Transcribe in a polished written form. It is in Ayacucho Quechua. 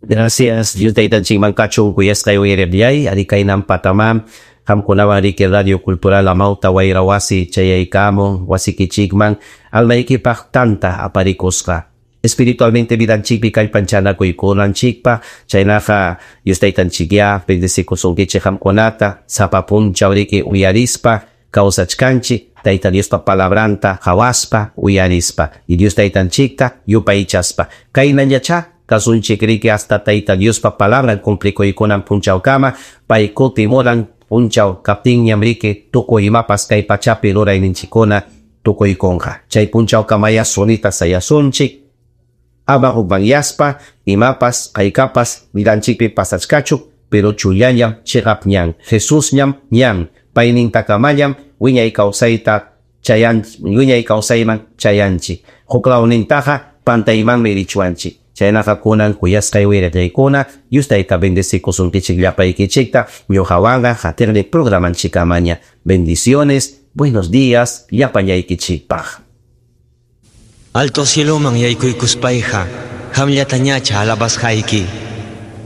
Gracias, Dios taytanchikman kachun kuyasqay uyariqllay, ari kaynan patamam qamkunawan riki Radio Cultural Amauta Wayra Wasi chayaykamun wasikichikman almaykipaq tanta aparikusqa. Espiritualmente vidanchikpi kallpanchanakuykunanchikpaq, chaynaqa Dios taytanchikyá bendecikusunkichik qamkunata sapa punchaw riki uyarispa kawsachkanchik Tayta Diospa palabranta qawaspa uyarispa y Dios taytanchikta yupaychaspa. Kaynallachá kasunchik riki hasta Tayta Diospa palabran cumplikuykunan punchawkama, pay kutimunan punchaw kaptinñam riki tukuy imapas kay pachapi rurayninchikkuna tukuykunqa. Chay punchawkamaya sunita sayasunchik, ama hukmanyaspa imapas haykapas vidanchikpi pasachkachu, pero chullallam chiqap ñan, Jesusñam ñan, paynintakamallam wiñay kawsayta chayan wiñay kawsayman chayanchik. Huklawnintaqa pantaymanmi richwanchik. Chaynaqa kunan kuyasqay wiraqaykuna, Dios tayta bendecikusunkichik llapaykichikta, ñuqawanqa qatiqnin programanchikamaña. Bendiciones, buenos días, llapallaykichikpaq. Alto cieloman yaykuykuspayqa, qamllatañacha alabasqayki.